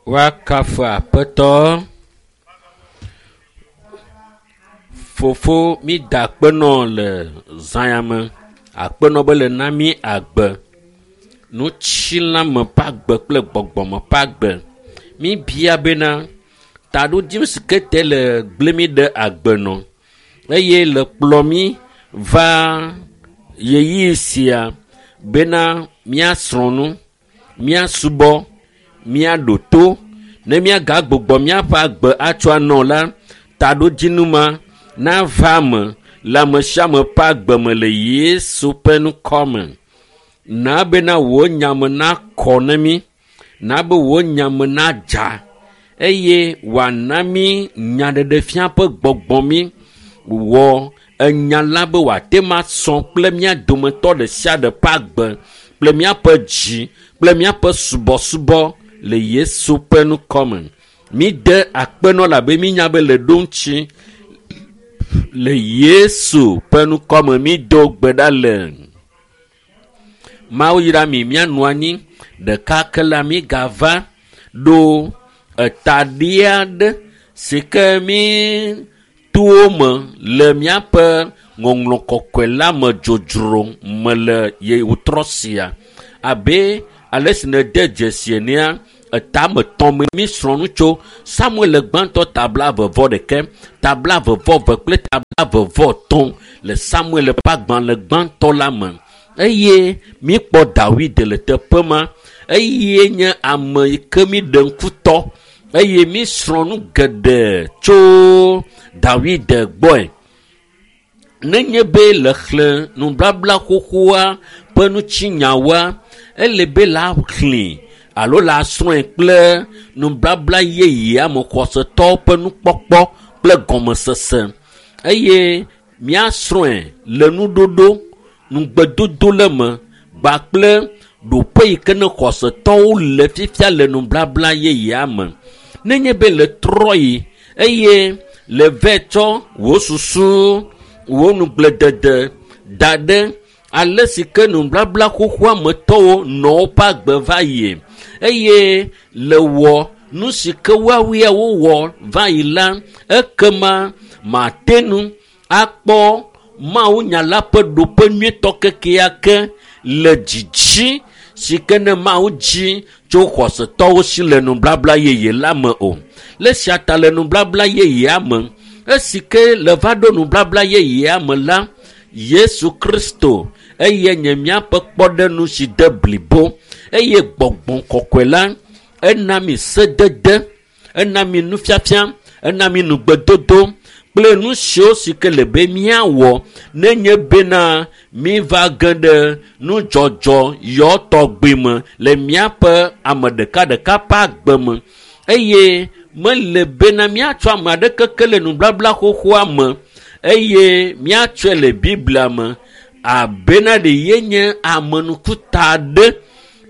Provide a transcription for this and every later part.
Woakafu Aƒetɔ. Fofo mída akpe nɔ le zã ya me. Akpenɔ be le na mí agbe. Nutsilãme ƒe agbe kple gbɔgbɔme ƒe agbe. Míbia bena taɖodzinu si ke te le gblẽ mí ɖe agbe nɔ eye le kplɔ mí va ɣeyiɣi sia bena míasrɔ̃ nu, míasubɔ, míaɖo to ne míagagbugbɔ míaƒe agbe atsɔ anɔ la, taɖodzinu ma nava me le ame sia ame ƒe agbe me le Yesu ƒe ŋkɔ me. Na bena wò nyame nakɔ ne mí, na be wò nyame nadza eye wòana mí nyaɖeɖefia ƒe gbɔgbɔ mí. Wɔ enya la be wòate ŋu asɔ kple mía dometɔ ɖe sia ɖe ƒe agbe kple míaƒe dzi kple míaƒe subɔsubɔ le Yesu ƒe ŋkɔ me. Míde akpenɔ labe mínya be le ɖo ŋuti le Yesu ƒe ŋkɔ me mído gbe ɖa le. Mawu yra mi míanɔ anyi ɖeka ke la mígava ɖo etaɖi aɖe si ke mí towo me le míaƒe ŋɔŋlɔ kɔkɔe la me dzodzro me le yewotrɔ sia abe ale si nède dzesi enea etame tɔ̃ me mísrɔ̃ nu tso Samuel gbãtɔ tabla vevɔ ɖeke, tabla vevɔ ve kple tabla vevɔ tɔ̃ le Samuel ƒe agbalẽ gbãtɔ la me eye míkpɔ Dawid le teƒe ma eye nye ame yi ke míɖe ŋkutɔ eye mísrɔ̃ nu geɖe tso Dawid gbɔe. Nenye be le xlẽ nubabla xoxoa ƒe ŋutinyawoa, ele be la xlẽe alo la srɔ̃e kple nubabla yeyea me xɔsetɔwo ƒe nukpɔkpɔ kple gɔmesese eye míasrɔ̃e le nuɖoɖo, nugbedodo le me kpakple ɖoƒe yi ke ne xɔsetɔwo le fifia le nubabla yeyea me. Nenye be le trɔ yi eye le vɛ tsɔ wò susu, wò nugbledede da ɖe ale si ke nubabla xoxoa me tɔwo nɔ woƒe agbe va yie eye le wɔ nu si ke woawoe wowɔ va yi la, ekema mate ŋu akpɔ Mawu nya la ƒe ɖoƒe nyuietɔ kekeake le dzidzi si ke ne Mawu dzi tso xɔsetɔwo si le nubabla yeye la me o. Le esia ta le nubabla yeyea me, esi ke le va ɖo nubabla yeyea me la, Yesu Kristo eye nye míaƒe kpɔɖeŋu si de blibo eye gbɔgbɔ kɔkɔe la ena mi sedede, ena mi nufiafia, ena mi nugbedodo kple nu siwo si ke le be míawɔ nenye bena míva ge ɖe nudzɔdzɔ yɔ tɔgbi me le míaƒe ame ɖekaɖeka ƒe agbe me eye mele bena míatsɔ ame aɖeke ke le nubabla xoxoa me eye míatsɔe le Biblia me abena ɖe yenye amenukuta aɖe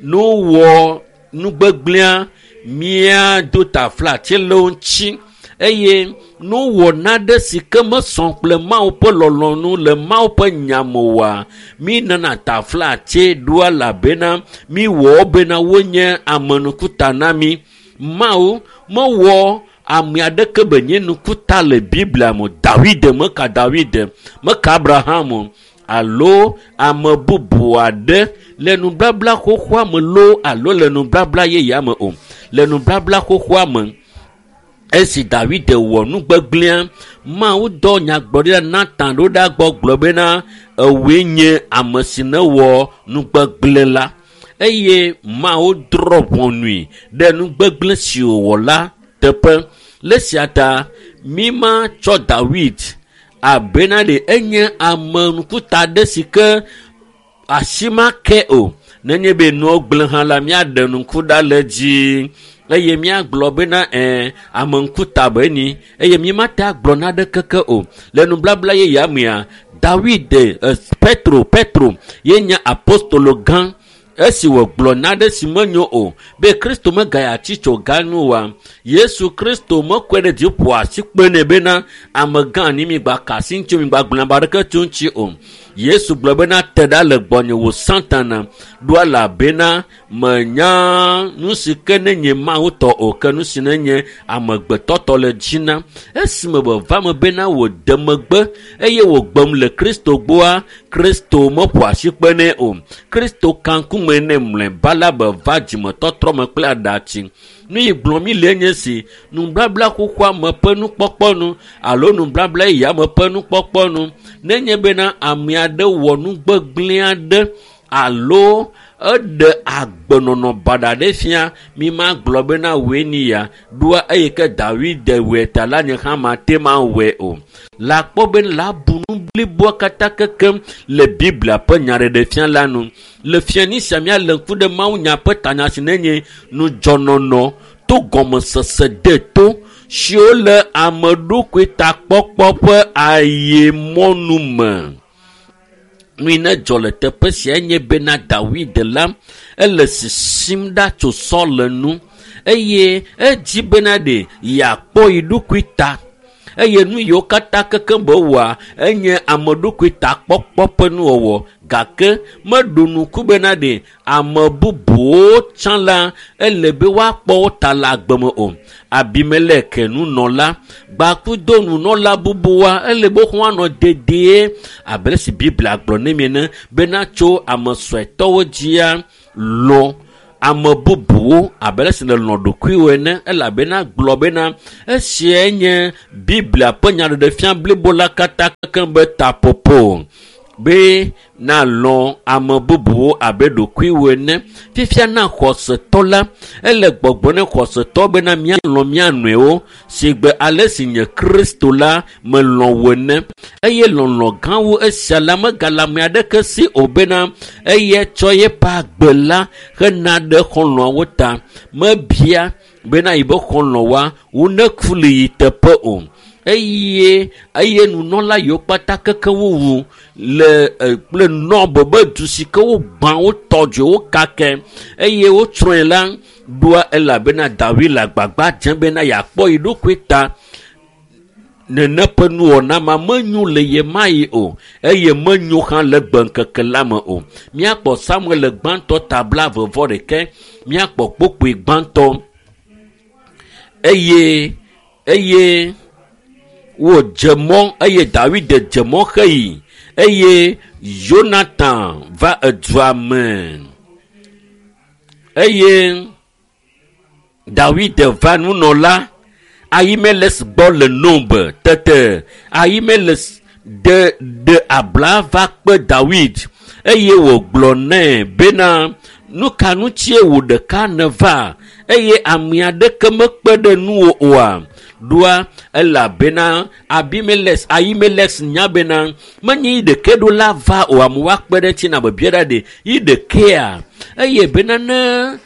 ne wowɔ nugbegblẽa míado taflatse le wo ŋuti eye ne wowɔ nane si ke mesɔ kple Mawu ƒe lɔlɔ̃nu le Mawu ƒe nya me oa, mínana taflatse ɖoa elabena míwɔ wo bena wonye amenukuta na mí. Mawu mewɔ ame aɖeke be nye nukuta le Biblia me o. Dawid meka Dawid, meka Abraham o alo ame bubu aɖe le nubabla xoxoa me loo alo le nubabla yeyea me o. Le nubabla xoxoa me, esi Dawid wɔ nugbegblẽa, Mawu dɔ nyagblɔɖila Natan ɖo ɖa gbɔ gblɔ bena ewòe nye ame si newɔ nugbegblẽ la eye Mawu drɔ̃ ʋɔnui ɖe nugbegblẽ si wòwɔ la teƒe. Le esia ta mímatsɔ Dawid abena ɖe enye ame ŋkuta aɖe si ke asi make o. Nenye be nuwo gblẽ hã la, míaɖe ŋku ɖa le edzi eye míagblɔ bena ɛ̃ ame ŋkuta be ni eye mímate agblɔ naɖeke ke o. Le nubabla yeyea mea, Dawid, Petro, Petro ye nye apostolo gã. Esi wògblɔ nane si menyo o be Kristo megaya tsi tso ga nu oa, Yesu Kristo mekɔe ɖe dzi ƒo asi kpe nɛ bena amegã ni mi gba ka asi ŋuti o, mi gba gblɔ ame aɖeke tso ŋuti o. Yesu gblɔ bena te ɖa le gbɔnye wò Satana ɖo elabena menya nu si ke ne nye Mawu tɔ o ke nu si ne nye amegbetɔ tɔ le dzi na. Esime wòva me bena wòde megbe eye wògbem le Kristo gbɔa, Kristo meƒo asi kpe nɛ o. Kristo ka ŋkume nɛ mlɔeba la be va dzimetɔtrɔ me kple aɖatsi. Nu yi gblɔm mi le nye si nubabla xoxoa me ƒe nukpɔkpɔ nu alo nubabla yeyea me ƒe nukpɔkpɔ nu. Nenye bena ame aɖe wɔ nu gbegblẽ aɖe alo eɖe agbenɔnɔ baɖa ɖe fia, mi ma gblɔ bena wòe ni ya ɖoa eyi ke Dawid wɔe ta la nye hã mate ma wɔe o. La kpɔ be la bu nu bliboa katã kekem le Biblia ƒe nyaɖeɖefia la nu. Le fiani sia míalé ŋku ɖe mawunya ƒe tanya si nenye nudzɔnɔnɔ to gɔmesese deto siwo le ame ɖokui takpɔkpɔ ƒe ayemɔnu me. Nu yi ne dzɔ le teƒe sia nye bena Dawid la ele sisim ɖa tso Saul nu eye edzi bena ɖe yeakpɔ yi ɖokui ta eye nu yiwo katã kekem be wɔa enye ame ɖokui takpɔkpɔ ƒe nuwɔwɔ gake meɖo nuku bena ɖe ame bubuwo tsã la ele be woakpɔ wo ta le agbe me o. Abimelek nunɔla gbakudo nunɔla bubuwoa ele be woanɔ dedie abe ale si Biblia gblɔ ne mi ene bena tso ame suetɔwo dzia lɔ̃ ame bubuwo abe ale si nèlɔ̃ ɖokuiwò ene elabena gblɔ bena esiae nye Biblia ƒe nyaɖeɖefia blibo la katã kekem be taƒoƒo be nalɔ̃ ame bubuwo abe ɖokuiwò ene. Fifia na xɔsetɔ la ele gbɔgblɔ ne xɔsetɔ bena míalɔ̃ mía nɔewo si gbe ale si nye Kristo la melɔ̃ wò ene eye lɔlɔ̃ gã wu esia la megale ame aɖeke si o bena eya tsɔ yeƒe agbe la hena ɖe xɔlɔ̃awo ta. Mebia bena yibe xɔlɔ̃woa woneku le yi teƒe o eye nunɔla yiwo kpata keke wowu le kple Nɔb be du si ke wogbã wotɔ dzo wokake eye wotsrɔ̃e la ɖoa elabena Dawid le agbagba dzem bena yeakpɔ yi ɖokui ta. Nene ƒe nuwɔna ma menyo le ye ma yi o eye menyo hã le gbeŋkeke la me o. Míakpɔ Samuel le gbãtɔ ta 11 míakpɔ kpokpoe gbãtɔ eye wòdze mɔ eye Dawid dze mɔ xeyi eye Yonatan va edua me eye Dawid va nunɔla Ahimelek gbɔ le Nob. Tete Ahimelek ɖe abla va kpe Dawid eye wògblɔ nɛ bena nu ka ŋutie wò ɖeka nèva eye ame aɖeke mekpe ɖe nuwò oa? Ɖoa elabena Ahimelek nya bena menye yi ɖeke ɖo la va o, amewo akpe ɖe eŋuti na bebia ɖa ɖe yi ɖekea eye bena ne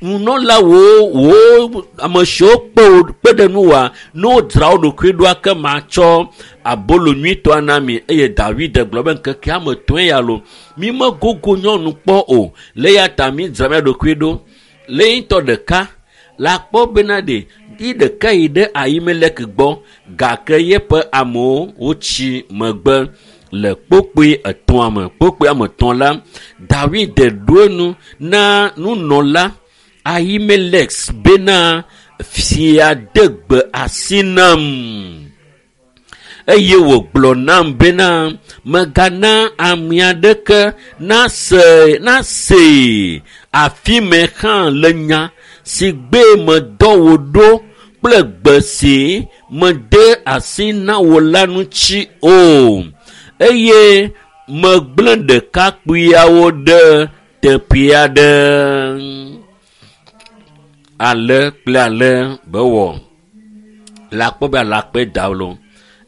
nunɔlawo wo ame siwo kpe ɖe nuwòa ne wodzra wo ɖokui ɖoa ke matsɔ abolo nyuitɔa na mi. Eye Dawid gblɔ be ŋkekea me tɔe ya lo mi megogo nyɔnu kpɔ o le ya ta mi dzra mía ɖokui ɖo. Le ŋutɔ ɖeka la kpɔ bena ɖe yi ɖeka yi ɖe Ahimelek gbɔ gake yeƒe amewo wotsi megbe le kpokpoe etɔ̃a me. Kpokpoe ame etɔ̃ la Dawid ɖo enu na nunɔla Ahimelek bena fia de gbe asi nam eye wògblɔ nam bena megana ame aɖeke nasee afi me hã le nya si gbe medɔ wò ɖo kple gbe si mede asi na wò la ŋuti o eye megblẽ ɖekakpuiawo ɖe teƒe aɖe. Ale kple ale be wɔ la kpɔ be alakpe da lo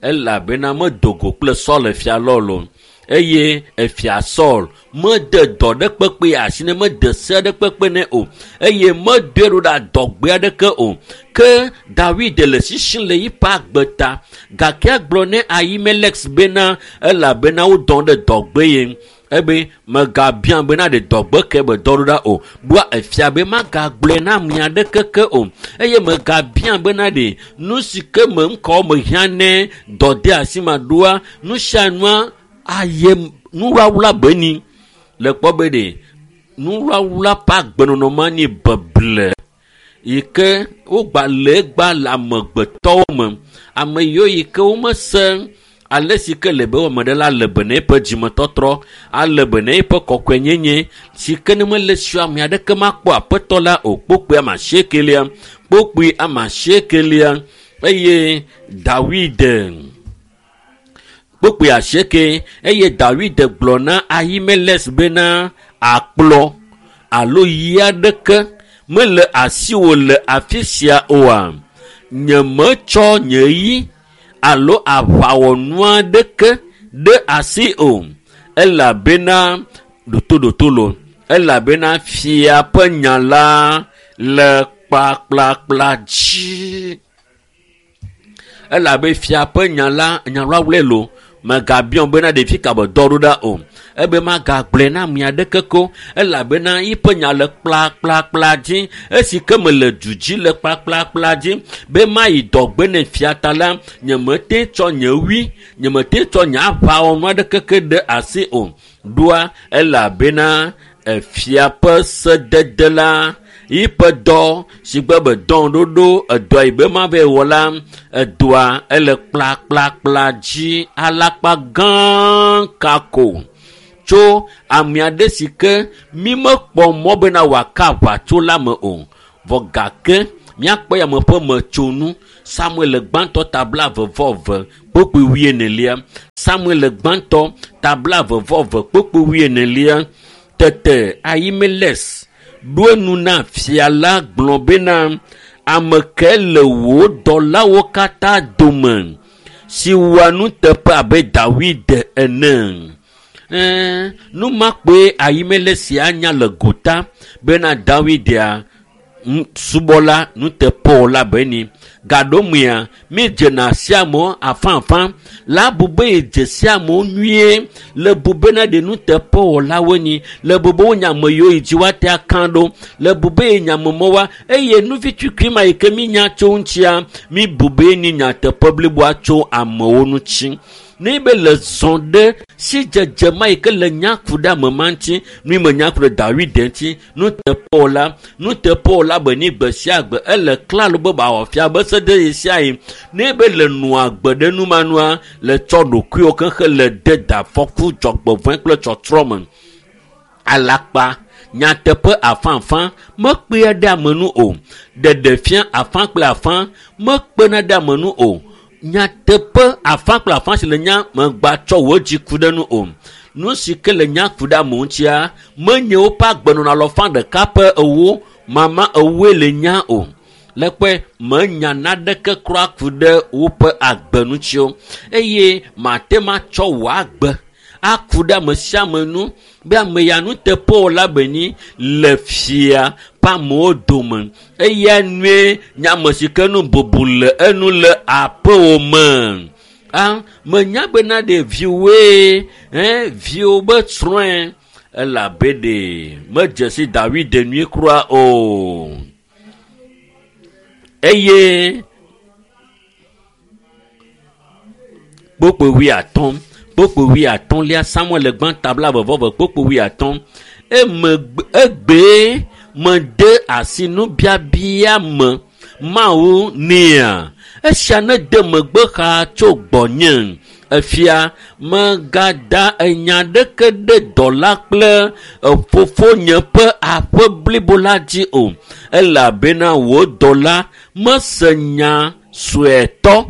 elabena medo go kple Saul fia lɔ lo eye efia Saul mede dɔ ɖe kpekpe asi ne mede se ɖe kpekpe nɛ o eye medoe ɖo ɖe adɔgbe aɖeke o. Ke Dawid le sisim le yiƒe agbe ta gake egblɔ ne Ahimelek bena elabena wodɔ ɖe dɔgbe ye. Ebe megabia bena ɖe dɔgbe ke be dɔ ɖo ɖa o. Ɖoa efia be magagblɔe na ame aɖeke ke o. Eye megabia bena ɖe nu si ke me ŋkɔ mehiã ne dɔdeasi ma ɖoa nu sia nua aye nuwlawla be ni. Le kpɔ be ɖe nuwlawla ƒe agbenɔnɔ ma nye beble yi ke wogba le egba le amegbetɔwo me. Ame yiwo yi ke womese ale si ke le be ame ɖe la le be na eƒe dzimetɔtrɔ, ale be na eƒe kɔkɔenyenye si ke ne mele si ame aɖeke makpɔ aƒetɔ la o. Kpokpui ame asiekelia, kpokpui ame asiekelia eye Dawid kpokpui asieke eye Dawid gblɔ na Ahimelek bena akplɔ alo yi aɖeke mele asiwò le afi sia oa? Nyemetsɔ nye yi alo aʋawɔnu aɖeke ɖe asi o, elabena ɖotoɖotolo, elabena fia ƒe nya la le kplakplakpla dzi. Elabe fia ƒe nya la nyawlawlɛ lo megabiɔ bena ɖevi ka be dɔ ɖo ɖa o. Ebe magagblɔe na ame aɖeke ko elabena yiƒe nya le kplakplakpla dzi. Esi ke mele du dzi le kplakplakpla dzi be mayi dɔgbe ne fia ta la, nyemete tsɔ nye wui, nyemete tsɔ nye aʋawɔnu aɖeke ke ɖe asi o. Ɖoa elabena efia ƒe sedede la yiƒe dɔ si gbe be dɔn ɖoɖo edɔ yi be ma va wɔ la edɔa ele kplakplakpla dzi alakpa gã kako tso ame aɖe si ke mi mekpɔ mɔ bena wòaka aʋatso la me o. Vɔ gake míakpɔ ya me ƒe metsonu. Samuel gbãtɔ ta 22 kpukpui 41. Samuel gbãtɔ ta 22 kpukpui 41. Tete Ahimelek ɖo enu na fia la gblɔ bena ame ke le wò dɔlawo katã dome si wɔa nuteƒe abe Dawid ene. Nu ma kpoe Ahimelek sia nya le gota bena Dawidia subɔla nuteƒewɔla be ni. Gaɖomea mi dzena sia amewo afãafã la bu be yedze sia amewo nyuie le bu bena ɖe nuteƒewɔlawoe nyi le bu be wonya ame yiwo yi dzi woate aka ɖo le bu be yenya ame mɔwoa eye nuvi tukui ma yi ke mi nya tso ŋutia mi bu be ni nyateƒe bliboa tso amewo ŋuti. Ne be le zɔ ɖe si dzedze ma yi ke le nya ku ɖe ame ma ŋuti nu me nya ku ɖe Dawid ŋuti nuteƒewɔla be ni gbe sia gbe ele klalo be bawɔ fia be sede yi sia yi ne be le nua gbe ɖe nu ma nua le tsɔ ɖokuiwo kexe le de da afɔku dzɔgbevɔ̃e kple tsɔtrɔ me. Alakpa nyateƒe afãafã mekpea ɖe ame nu o. Ɖeɖefia afã kple afã mekpena ɖe ame nu o. Nyateƒe afã kple afã si le nya megba tsɔ wò dzi ku ɖe nu o. Nu si ke le nya ku ɖe ame ŋutia menye woƒe agbenɔnɔ alɔfa ɖeka ƒe ewo mama ewoe le nya o. Le kpɔe menya naɖeke kura ku ɖe woƒe agbe ŋuti o. Eye mate ma tsɔ wò agbe aku ɖe ame sia ame nu be ame ya nuteƒewɔla be nyi le fia ƒe amewo dome. Eya nue nye ame si ke nu bubu le enu le aƒewò me. Menya bena ɖe viwoe, viwo be srɔ̃e elabe ɖe medze si Dawid nyuie kura o. Eye kpokpo 85lia Samuel gbãtɔ 22 kpokpo 50 egbee mede asi nubiabia me Mawu nea esia ne de megbe xa tso gbɔnye. Efia megada enya ɖeke ɖe dɔla kple fofonye ƒe aƒe blibo la dzi o, elabena wò dɔla mese nya suetɔ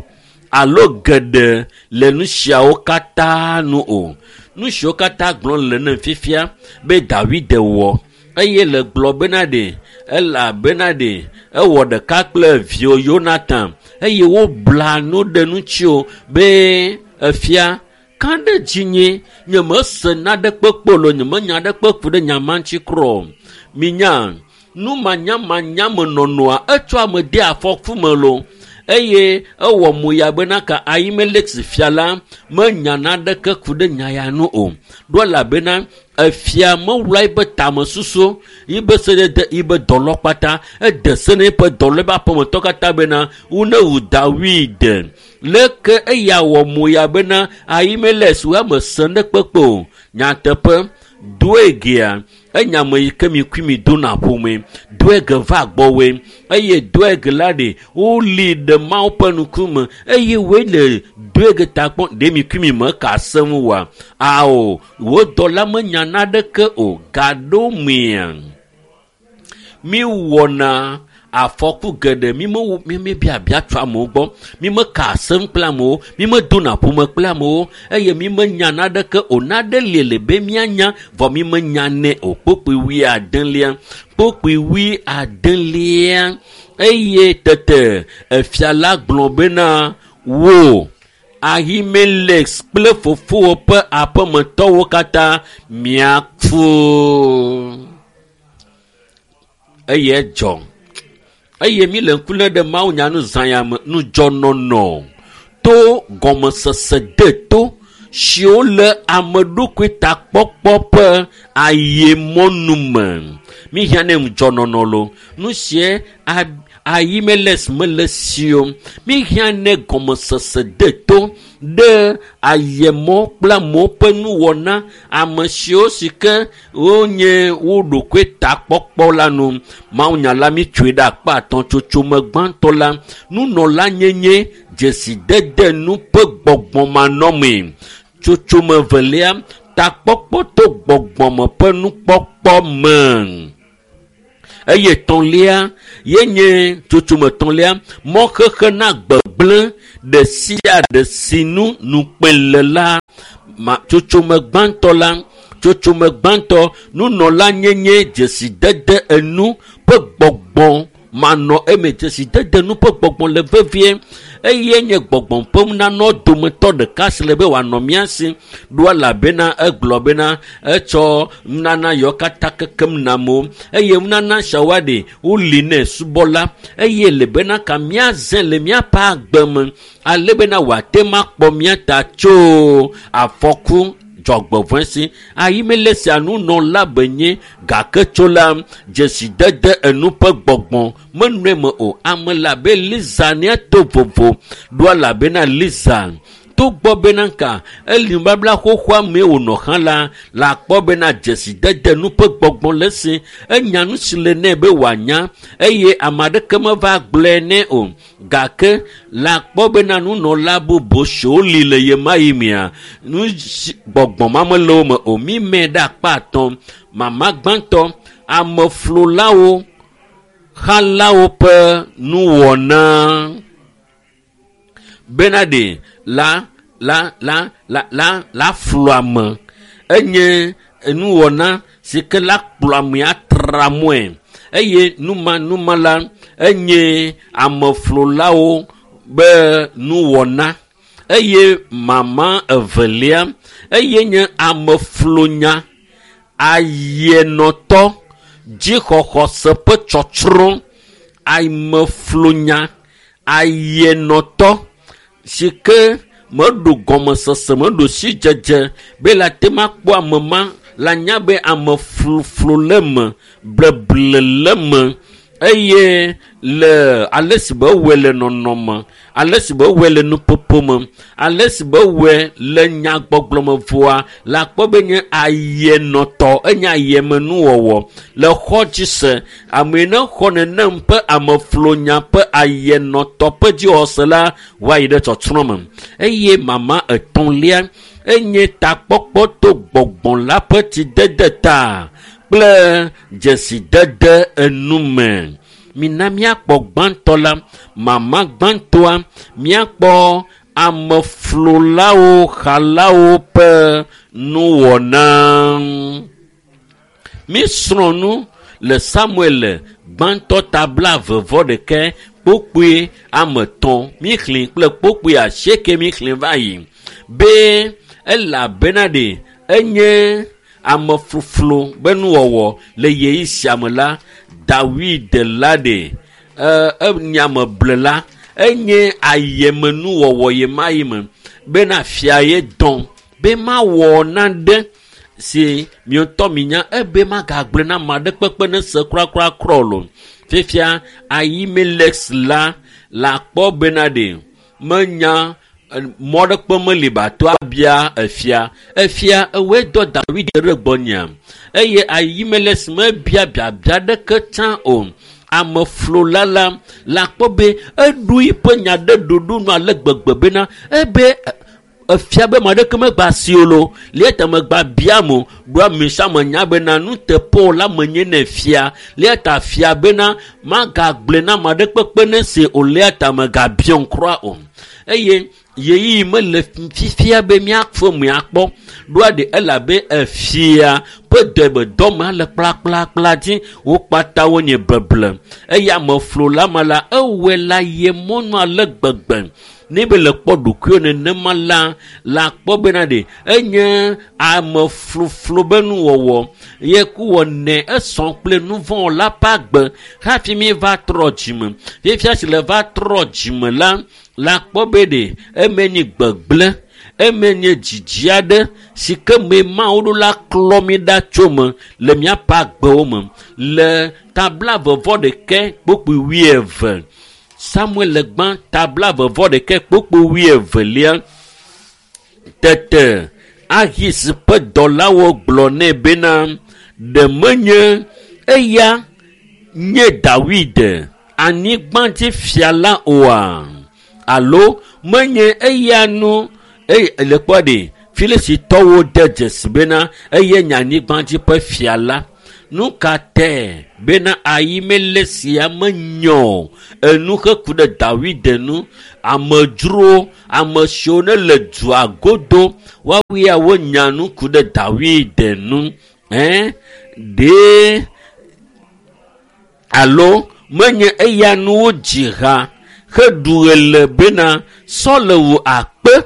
alo geɖe le nu siawo katã nu o. Nu siwo katã gblɔm le ne fifia be Dawid wɔ eye le gblɔ bena ɖe elabena ɖe ewɔ ɖeka kple vio Yonatan eye wobla nu ɖe ŋuti o be efia ka ɖe dzinye nyemese naɖekpe kpɔ lo nyemenya ɖekpe ku ɖe nya ma ŋuti kura o. Minya nu manyamanya me nɔnɔa etsɔ ame de afɔku me lo. Eye ewɔ mo ya bena ka Ahimelek fia la menya naneke ku ɖe nya ya nu o. Ɖo elabena efia mewla eƒe tamesusu, yibe sedede, yibe dɔlɔ kpata. Ede se na eƒe dɔlɔ eƒe aƒemetɔ katã bena wonewu Dawid. Leke eya wɔ mo ya bena Ahimelek woame se ne kpekpe o. Nyateƒe Doegea enya me yi ke mi kui mi dona ƒome. Doeg va gbɔwoe eye Doeg la ɖe woli ɖe Mawu ƒe ŋkume eye woe le Doeg ta kpɔm ɖe mi kui mi me ka asem oa? Ao, wo dɔla menya naneke o. Gaɖo mea mi wɔna afɔku geɖe mi mewo mi mebiabia tso amewo gbɔ, mi meka asem kple amewo, mi medona ƒome kple amewo eye mi menya naneke o. Nane li le be mianya vɔ mi menya nɛ o. Kpokpui wuiadelia, kpokpui wuiadelia eye tete efia la gblɔ bena wo Ahimelek kple fofowò ƒe aƒemetɔwo katã miaku. Eye edzɔ. Eye mi le ŋku lém ɖe mawunya nu zã ya me nudzɔnɔnɔ to gɔmesese deto siwo le ame ɖokui takpɔkpɔ ƒe ayemɔnu me. Mi hiã ne ŋudzɔnɔnɔ lo. Nu sie Ahimelek mele si o. Mi hiã ne gɔmesese deto ɖe ayemɔ kple amewo ƒe nuwɔna ame siwo si ke wonye wo ɖokui takpɔkpɔ la nu. Mawunya la mi tsoe ɖe akpa atɔ̃ tsotsome gbãtɔ la nunɔla nyenye dzesidede nu ƒe gbɔgbɔmanɔmee. Tsotsome velia takpɔkpɔ to gbɔgbɔme ƒe nukpɔkpɔ me. Eye tɔ̃lia yenye tsotsome tɔ̃lia mɔxexe na gbegblẽ ɖe sia ɖe si nu nukpe le la. Ma tsotsome gbãtɔ la tsotsome gbãtɔ nunɔla nyenye dzesidede enu ƒe gbɔgbɔ manɔ eme. Dzesidede nu ƒe gbɔgbɔ le vevie eye nye gbɔgbɔ ƒe nunana dometɔ ɖeka si le be wòanɔ mía si ɖo elabena egblɔ bena etsɔ nunana yawo katã kekem na amewo eye nunana siawoa ɖe woli nɛ subɔla eye le bena ka míazẽ le míaƒe agbe me ale bena wòate ŋu akpɔ mía ta tso afɔku dzɔgbevɔ̃e si. Ahimelek sia nunɔla benye gake tso la dzesidede enu ƒe gbɔgbɔ menɔe me o. Ame le abe Liza nea to vovo ɖo elabena Liza togbɔ bena ka eli nubabla xoxoa mee wònɔ hã la le akpɔ bena dzesidede nu ƒe gbɔgbɔ le esi. Enya nu si le nɛ be wòanya eye ame aɖeke meva gblɔe nɛ o. Gake le akpɔ bena nunɔla bubu siwo li le ɣemaɣi mea nu si gbɔgbɔ ma mele wo me o. Mi mɛ ɖe akpa atɔ̃. Mama gbãtɔ ameflolawo xalawo ƒe nuwɔna bena ɖe la la la la la la flu ame enye nuwɔna si ke la kplɔ ame atra mɔe eye numa numa la enye ameflolawo be nuwɔna eye mama evelia eye nye ameflonya ayenɔtɔ dzixɔxɔse ƒe tsɔtsrɔ̃ ameflonya ayenɔtɔ si ke meɖo gɔmesese meɖo sidzedze be la te ma kpɔ ame ma la nya be ame floflo le me bleble le me eye le ale si be wɔe le nɔnɔme ale si be wɔe le nuƒoƒo me ale si be wɔe le nyagbɔgblɔ me vɔa la kpɔ be nye ayenɔtɔ enye ayemenuwɔwɔ le xɔ dzi se ame yi ne xɔ nenem ƒe ameflonya ƒe ayenɔtɔ ƒe dzixɔse la woayi ɖe tsɔtsrɔ̃ me eye mama etɔ̃lia enye takpɔkpɔ to gbɔgbɔ la ƒe tsidede ta kple dzesidede enume. Mina míakpɔ gbãtɔ la mama gbãtɔa míakpɔ ameflolawo xalawo ƒe nuwɔna. Mísrɔ̃ nu le Samuel gbãtɔ ta blaeve vɔ ɖekɛ kpokpoe ame etɔ̃ míxlẽ kple kpokpoe asieke míxlẽ va yi be elabena ɖe enye amefloflo be nuwɔwɔ le ɣeyiɣi sia me la Dawid la ɖe enye ame blela Enye ayemenuwɔwɔ ye ma yi me bena fia ye dɔn be mawɔ nane si miotɔ minya ebe magagblẽ na ame aɖe kpekpe ne se kurakura o. Fifia Ahimelek la le akpɔ bena ɖe menya mɔ ɖe kpe meli bato abia efia. Efia ewoe dɔ Dawid ɖe gbɔnyea eye Ahimelek mebia biabia ɖeke tsã o. Ameflola la le akpɔ be eɖo eƒe nya ɖe ɖoɖo nu ale gbegbe bena ebe efia be ame aɖeke megba si o lo lia ta megba biam o ɖo ame sia ame nya bena nuteƒewɔla la menye ne fia lia ta fia bena magagblẽ na ame aɖe kpekpe ne se o lia ta megabiam kura o eye yeyiyi mele fifia be míafe miakpɔ ɖoa ɖe elabe efia ƒe dɔ be dɔmea le kplakplakpla dzi wo kpata wonye beble eye ameflola ma la ewɔe la ye mɔnu ale gbegbe ne be le kpɔ ɖokuiwo nenema la le akpɔ bena ɖe enye amefloflo be nuwɔwɔ ye ku wɔnɛ esɔ kple nuvɔ̃wɔla ƒe agbe hafi mi va trɔ dzime fifia si le va trɔ dzime la le akpɔ be ɖe eme nye gbegblẽ eme nye dzidzi aɖe si ke me Mawu ɖo la klɔ mi ɖa tso me le míaƒe agbewo me le tabla vɔvɔ ɖeke kpokpoe wuieve Samuel gbã tabla vɔvɔ ɖeke kpokpoe wuievelia tete Ahis ƒe dɔlawo gblɔ nɛ bena ɖe menye eya nye Dawid anyigbadzifia la oa alo menye eya nu eye le kpɔ ɖe Filistitɔwo de dzesi bena eye nye anyigbadzi ƒe fia la. Nu ka tɛ bena Ahimelek sia menyɔ enu heku ɖe Dawid nu amedzrowo ame siwo ne le dua godo woawoe ya wonya nu ku ɖe Dawid nu ɖe alo menye eya nu wodzi ha heɖu ɣe le bena Saul wu akpe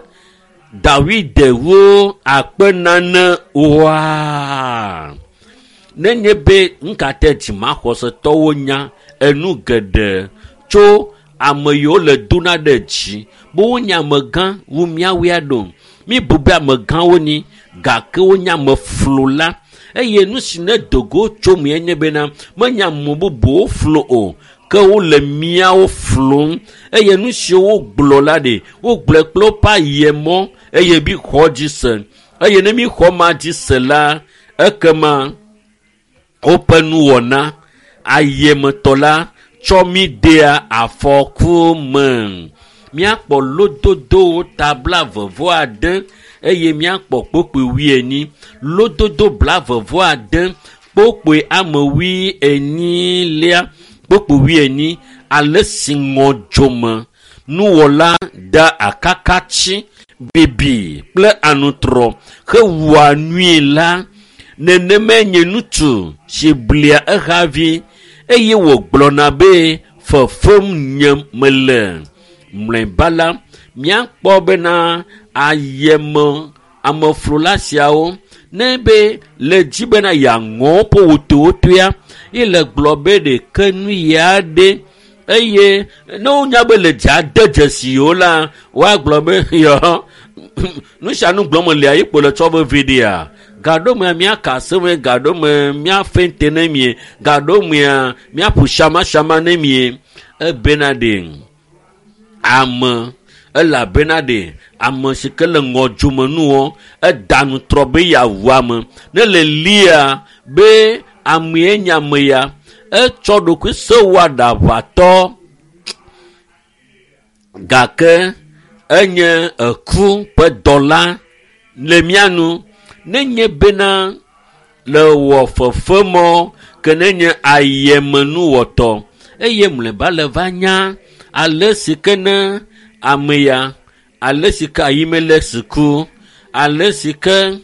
Dawid wu akpe nane oa. Nenye be ŋkate dzimaxɔsetɔwo nya enu geɖe tso ame yiwo le dona ɖe dzi be wonye amegã wu míawoe ɖo. Míbu be amegãwo ni gake wonye ameflola eye nu si ne dogo tso mee nye bena menye ame bubuwo flo o ke wole míawo flom eye nu siwo wogblɔ la ɖe wogblɔe kple woƒe ayemɔ eye mi xɔ dzi se eye ne mi xɔ ma dzi se la ekema woƒe nuwɔna ayemetɔ la tsɔ mi dea afɔku me. Míakpɔ lododowo ta 26 eye míakpɔ kpokpoe 40. Lododo 26 kpokpoe ame 40 kpokpoe 40 ale si ŋɔdzome nuwɔla da akakatsi bibi kple anutrɔ hewua nui la nenemae nye ŋutsu si blia ehavi eye wògblɔna be fefem nye mele. Mlɔeba la míakpɔ bena ayeme ameflola siawo ne be le dzi bena yeaŋɔ woƒe wotowotoea ye le gblɔ be ɖeke nu ya ɖe eye ne wonya be le dza de dzesi wo la woagblɔ be yɔ nu sia nu gblɔm lia ye kpo le tsɔ vevi ɖea gaɖomea míaka aseme gaɖome míafente ne mie gaɖomea míaƒo shamasama ne mie ebena ɖe ame elabena ɖe ame si ke le ŋɔdzome nuwɔ eda nutrɔ be yeawu ame ne le lia be amee nye ame ya etsɔ ɖokui sewɔ aɖaʋatɔ gake enye eku ƒe dɔla le mía nu nenye bena le wɔ fefemɔ ke nenye ayemenuwɔtɔ eye mlɔeba le va nya ale si ke ne ame ya ale si ke Ahimelek ku ale si ke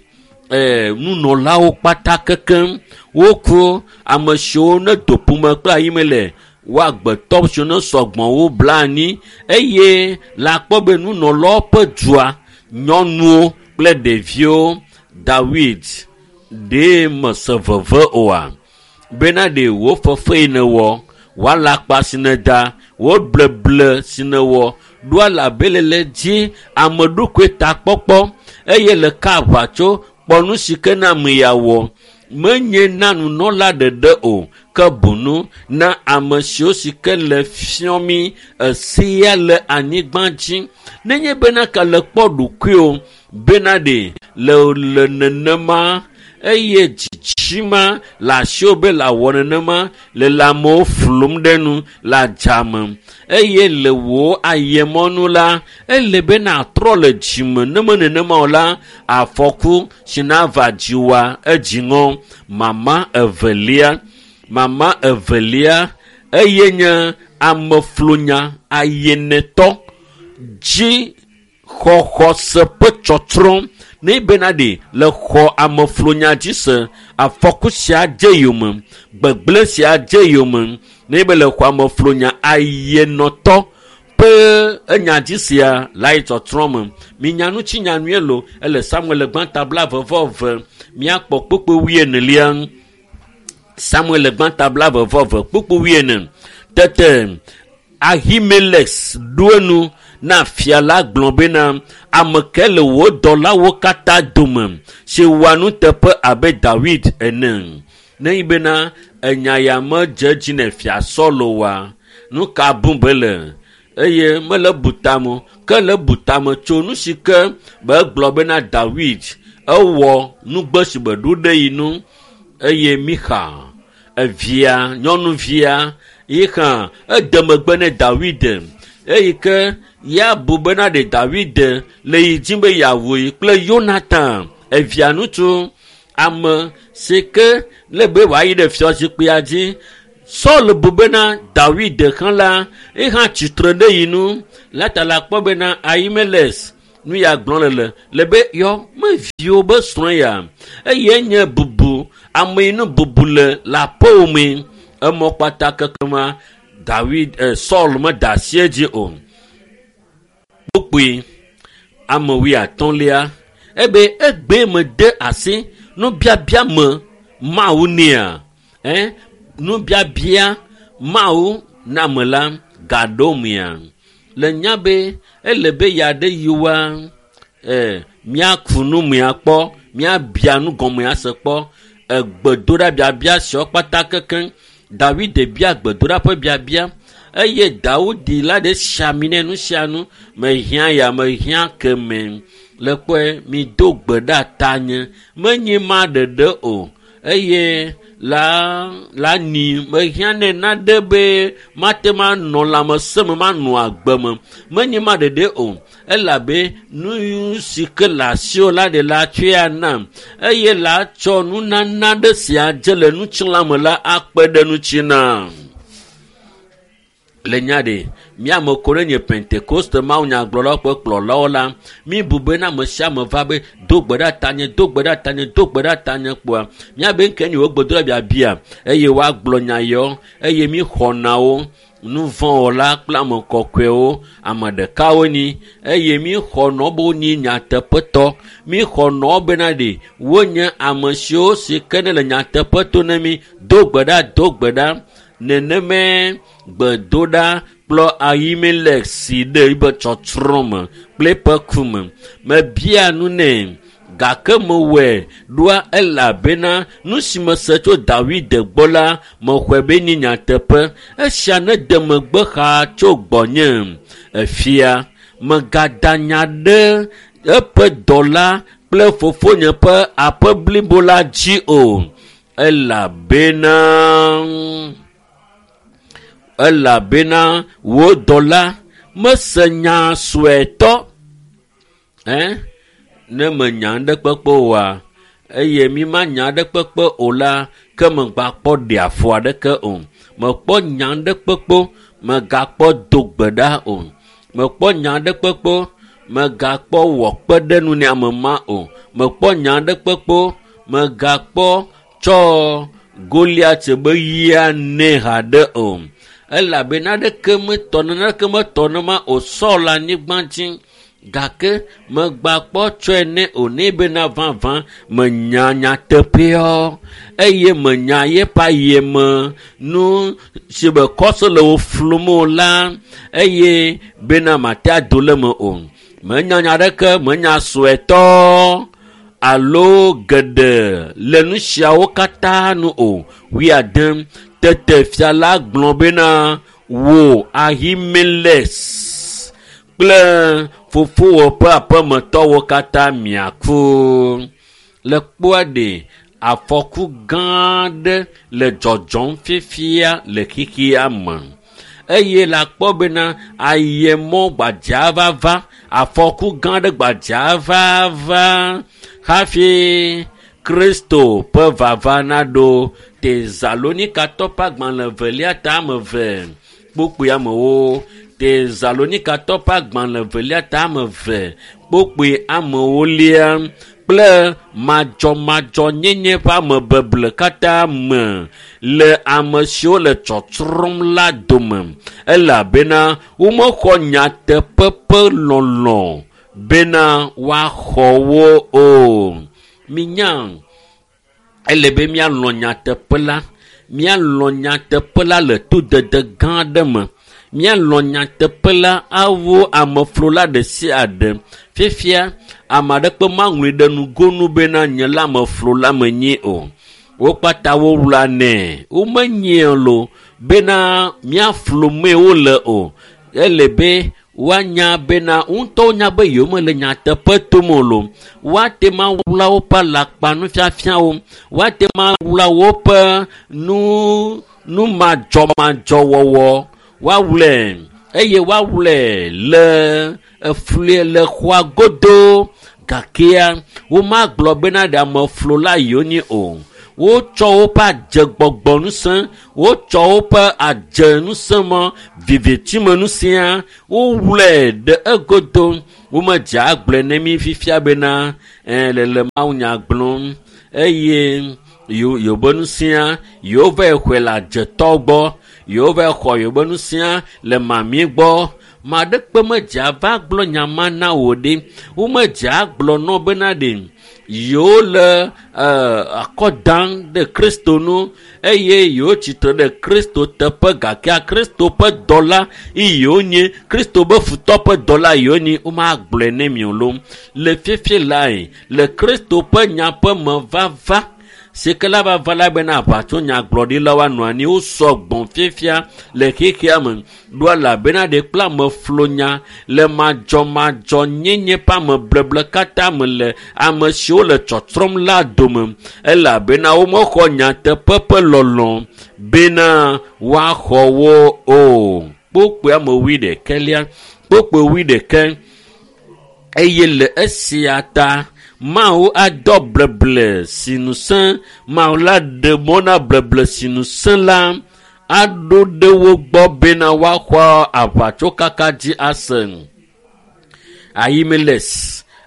nunɔlawo kpata kekem woku ame siwo ne do ƒome kple Ahimelek woagbetɔ siwo ne sɔgbɔ wo bla anyi eye le akpɔ be nunɔlawo ƒe dua nyɔnuwo kple ɖeviwo Dawid ɖee mese veve oa bena ɖe wo fefe yi ne wɔ woala akpa si ne da Wo bleble si nèwɔ ɖoa labelele dzi ame ɖokui takpɔkpɔ eye le ka aʋatso kpɔ nu si ke na ame ya wɔ. Menye na nunɔla ɖeɖe o, ke boŋ na ame siwo si ke le fiɔ mí esia le anyigba dzi. Nenye bena ke le kpɔ ɖokuiwò bena ɖe le nenema eye dzitsima le asiwò be le awɔ nenema le le amewo flum ɖe nu le adzame eye le wò ayemɔnu la ele be natrɔ le dzime ne me nenema o la afɔku si nava dziwòa edzi ŋɔ. Mama evelia eye nye ameflunya ayenetɔ dzi xɔxɔse ƒe tsɔtsrɔ̃. Ne bena ɖe le xɔ ameflunya dzi se afɔku sia dze yome, gbegblẽ sia dze yome. Ne be le xɔ ameflunya ayenɔtɔ ƒe enya dzi sia la yi tsɔtsrɔ̃ me. Minya ŋuti nya nyuie lo ele Samuel gbãta 22 miakpɔ kpukpui 24. Samuel gbãta 22 kpukpui 24. Tete Ahimelek ɖo enu na fia la gblɔ bena ame ke le wò dɔlawo katã dome si wɔa nuteƒe abe Dawid ene. Ne yi bena enya ya medze dzi ne fia Saul oa, nu ka bum be le? Eye mele bu tame ke le bu tame tso nu si ke be gblɔ bena Dawid ewɔ nugbe si be ɖo ɖe yi nu eye Mixa evia nyɔnuvia yi hã ede megbe ne Dawid eyi ke ya bu bena ɖe Dawid le yi dzi be yeawu yi kple Yonatan evia ŋutsu ame si ke le be wòayi ɖe fiazikpuia dzi. Saul bu bena Dawid hã la ye hã tsitre ɖe yi nu la ta la kpɔ bena Ahimelek nu ya gblɔ le be yɔ meviwo be srɔ̃ ya eye nye bubu ame yi nu bubu le aƒewò me emɔ kpata kekema Dawid Saul meda asi edzi o. Kpukpui ame 50 ebe egbe mede asi nubiabia me Mawu nea nubiabia Mawu na ame la gaɖo mea le nya be ele be ya ɖe yiwa miaku nu mea kpɔ miabia nu gɔmea se kpɔ egbedoɖa biabia siawo kpata kekeŋ. Dawid bia gbedoɖa ƒe biabia eye Dawudi la ɖe siami ne nu sia nu mehiã ya mehiã keme le kpɔe mi do gbe ɖa tanye menye ma ɖeɖe o eye la ni mehiã ne naɖe be mate ma nɔ lãmesẽ me manɔ agbe me menye ma ɖeɖe o elabe nu si ke le asiwò la ɖe la tsɔe anam eye la tsɔ nunana ɖe sia dze le ŋutilã me la akpe ɖe ŋuti nam. Le nya ɖe miame ko ɖe nye Pentekoste mawunyagblɔlawo ƒe kplɔlawo la mi bu bena ame sia ame va be do gbe ɖa tanye do gbe ɖa tanye do gbe ɖa tanye kpoa miabe ŋke nye wo gbedoɖa biabia eye woagblɔ nya yawo eye mi xɔna wo nuvɔ̃wɔla kple ame kɔkɔewo ame ɖekawo nyi eye mi xɔnɔ be wonyi nyateƒetɔ mi xɔnɔ bena ɖe wonye ame siwo si ke ne le nyateƒe to ne mi do gbe ɖa do gbe ɖa neneme gbedoɖa kplɔ Ahimelek si ɖe eƒe tsɔtsrɔ̃ me kple eƒe ku me. Mebia nu nɛ gake mewɔe ɖoa elabena nu si mese tso Dawid gbɔ la mexɔe be nye nyateƒe. Esia nede megbe xaa tso gbɔnye. Efia megada nya ɖe eƒe dɔla kple fofonye ƒe aƒe blibo la dzi o elabena wò dɔla mese nya suetɔ ne menya aɖe kpekpe oa eye mi ma nya aɖe kpekpe o la ke megakpɔ ɖe afɔ aɖeke o mekpɔ nya aɖe kpekpe megakpɔ do gbe ɖa o mekpɔ nya aɖe kpekpe megakpɔ wɔ kpe ɖe nu ne ame ma o mekpɔ nya aɖe kpekpe megakpɔ tsɔ Goliat be yia ne haɖe o elabena naneke metɔ nema o Saul anyigba dzi. Gake megbakpɔ tsɔe nɛ o nɛ bena vavã menya nyateƒeɔ eye menya yeƒe ayeme nu si be kɔso le wo flum o la eye bena mate ado le me o. Menya nya aɖeke menya suetɔ alo geɖe le nu siawo katã nu o. 70. Tete fia la gblɔ bena wò Ahimelek kple fofowò ƒe aƒemetɔwo katã miaku. Le kpoa ɖe afɔku gã aɖe le dzɔdzɔm fifia le xexea me eye le akpɔ bena ayemɔ gbadza vava afɔku gã aɖe gbadza vava hafi Kristo ƒe vava naɖo. Tesalonikatɔ ƒe agbalẽ evelia ta ame eve kpukpui amewo. Tesalonikatɔ ƒe agbalẽ evelia ta ame eve kpukpui amewolia kple madzɔmadzɔnyenye ƒe amebeble katã me le ame siwo le tsɔtsrɔ̃m la dome elabena womexɔ nyateƒe ƒe lɔlɔ̃ bena woaxɔ wo o. Minya ele be míalɔ̃ nyateƒe la, míalɔ̃ nyateƒe la le todede gã aɖe me. Míalɔ̃ nyateƒe la awu ameflola ɖe sia ɖe. Fifia ame aɖeke maŋlɔe ɖe nugonu bena nye la ameflola menye o. Wo kpata wowla nɛ. Womenyie lo bena míaflo mee wole o. Ele be woanya bena ŋutɔwo nya be yewomele nyateƒe tom o lo. Woate ma wla woƒe alakpanufiafiawo. Woate ma wla woƒe nu numadzɔmadzɔwɔwɔ. Woawlɛ eye woawlɛ le efli le xɔa godo gakea womagblɔ bena ɖe ameflola yewonye o. Wotsɔ woƒe adzegbɔgbɔ ŋusẽ, wotsɔ woƒe adze ŋusẽ me vivitime ŋusẽa, wowlɛ ɖe egodo. Womedze agblɔe ne mi fifia bena ɛɛ le le mawunya gblɔm eye yewobe ŋusẽa yewova xɔe le adzetɔ gbɔ, yewova xɔ yewobe ŋusẽa le mami gbɔ. Ma ɖekpe medze ava gblɔ nya ma na wò ɖe. Womedze agblɔ nɔ bena ɖe yewo le akɔ dam ɖe Kristo nu eye yewo tsitre ɖe Kristo teƒe gakea Kristo ƒe dɔla ye yewo nye Kristo ƒe futɔ ƒe dɔla yewo nye womagblɔe ne mi o lo. Le fifi lae le Kristo ƒe nya ƒe me vava si ke la vava la bena aʋatso nyagblɔɖilawo anɔ anyi wosɔ gbɔn fifia le xexea me ɖo elabena ɖe kple ameflonya le madzɔmadzɔnyenye ƒe amebleble katã me le ame siwo le tsɔtsrɔ̃m la dome elabena womexɔ nyateƒe ƒe lɔlɔ̃ bena woaxɔ wo o. Kpukpui ame wuiɖekɛlia kpukpui wuiɖekɛ eye le esia ta Mawu adɔ bleble si ŋusẽ Mawu la ɖe mɔ na bleble si ŋusẽ la aɖo ɖe wo gbɔ bena woaxɔ aʋatsokaka dzi ase. Ahimelek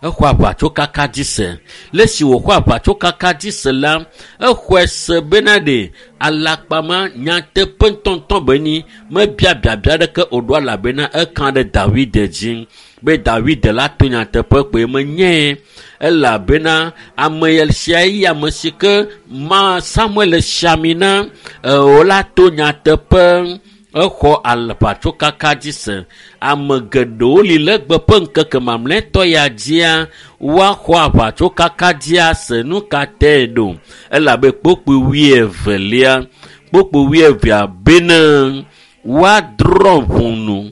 exɔ aʋatsokaka dzi se. Le esi wòxɔ aʋatsokaka dzi se la, exɔe se bena ɖe alakpama nyateƒe ŋutɔŋutɔ be nyi mebia biabia aɖeke o ɖo elabena eka ɖe Dawid dzi be Dawid la to nyateƒe kpoe menyae elabena ame sia ye ame si ke ma Samuel si ami na wòla to nyateƒe. Exɔ aʋatsokaka dzi se. Ame geɖewo li le egbe ƒe ŋkeke mamlɛtɔ ya dzia woaxɔ aʋatsokaka dzi ase. Nu ka tae ɖo? Elabe kpukpui wuievelia kpukpui wuievea bena woadrɔ̃ ʋɔnu